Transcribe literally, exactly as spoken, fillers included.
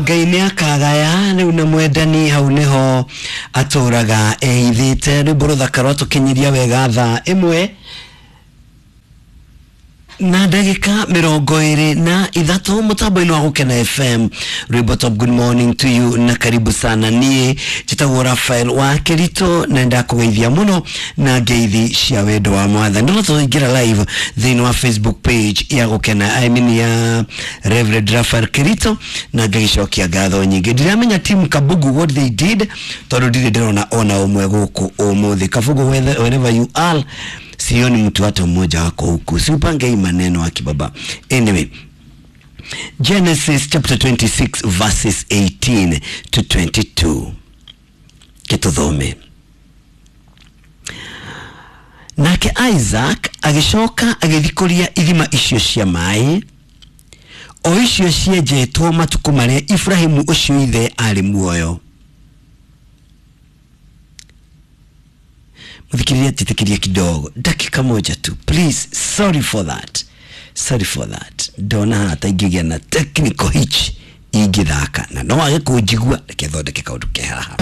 Ngai nĩ akagaya rĩu na mwendani hau nĩho atũraga ehithĩte. Rwĩmbo rũthaka rwatũkinyiria wega thaa ĩmwe na ndagĩka mĩrongo ĩrĩ na ithatũ mũtambo-inĩ wa Gũkena F M. Rwĩmbo top. Good morning to you na karibu sana. Niĩ njĩtagwo Rafael wa Kĩritũ na ndakũgeithia mũno na ngeithi cia wendo wa Mwathani. No tũingĩra live thĩinĩ wa Facebook page ya Gũkena, I mean ya Reverend Rafael Kĩritũ, na ngagĩcokia ngatho nyingĩ. Ndiramenya team Kabugu what they did, tondũ ndirĩ ndĩrona ona ũmwe gũkũ ũmũthĩ. Kabugu, wherever you are, sioni mtu hata mmoja wako huku. Siupange hii maneno akibaba. Anyway, Genesis chapter twenty-six verses eighteen to twenty-two, kituthome. Nake Isaac agĩcoka agĩthikũria ithima icio cia maĩ, o icio cienjetwo matukũ marĩa Ibrahimu ũcio ithe arĩ muoyo. Mũthikĩrĩria, njĩtĩkĩria kidogo, dakika moja tu, please. Sorry for that, sorry for that. Ndona haha ta ingĩgĩa na technical hitch ingĩthaka na no wage kũnjigua. Reke thondeke kaũndũ ke haha.